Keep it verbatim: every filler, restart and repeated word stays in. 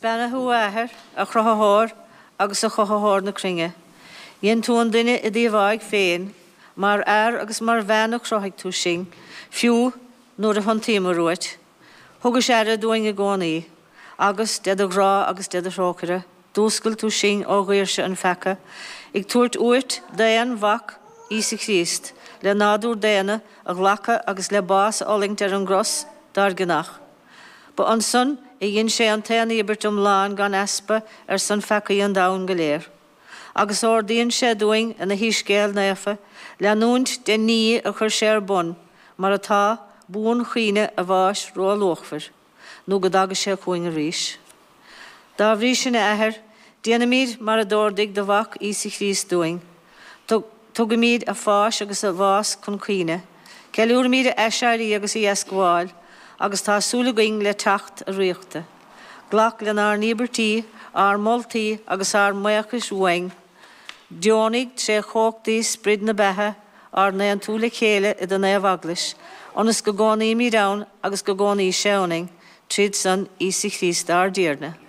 Beannaithe thú, a Athair, a Chruthaitheoir agus a Chothaitheoir na cruinne. Dhein tú an duine i d'íomháigh féin, mar fhear agus mar bhean a chruthaigh tú sinn, fiú nuair a thiontaíomar uait. Thugais aire dúinn i gcónaí, agus, de do ghrá agus de do thrócaire, d'fhuascail tú sinn ó dhaoirse an pheaca, ag tabhairt uait d'aon Mhac, Íosa Críost, le nádúr daonna a ghlacadh agus le bás a fhulaingt ar an gcros dár gcionnach. Ba ansan a dhein sé an t-aon íobairt iomlán gan easpa ar son pheacaí an domhain go léir. Agus ordaíonn sé dúinn ina Shoiscéal naofa leanúint den ní a chuir sé ar bun, mar atá, buanchuimhne a bháis róluachmhair, nó go dtaga sé chugainn arís. Dá bhrí sin, a Athair, déanaimid mar a d'ordaigh do Mhac Íosa Chríost dúinn. Tugaimid a pháis agus a bhás chun cuimhne. Ceiliúraimid a aiséirí agus a dheascabháil, agus tá súil againn le teacht a ríochta. Glac lenár n-íobairtí, ár moltaí agus ár mbuíochais uainn. Deonaigh tré chumhachtaí Sprid na beatha ár n-aontú le chéile i do naomh-eaglais, ionas go gcónaímid ann agus go gcónaí sé ionainn, tríd san Íosa Chríost ár dTiarna.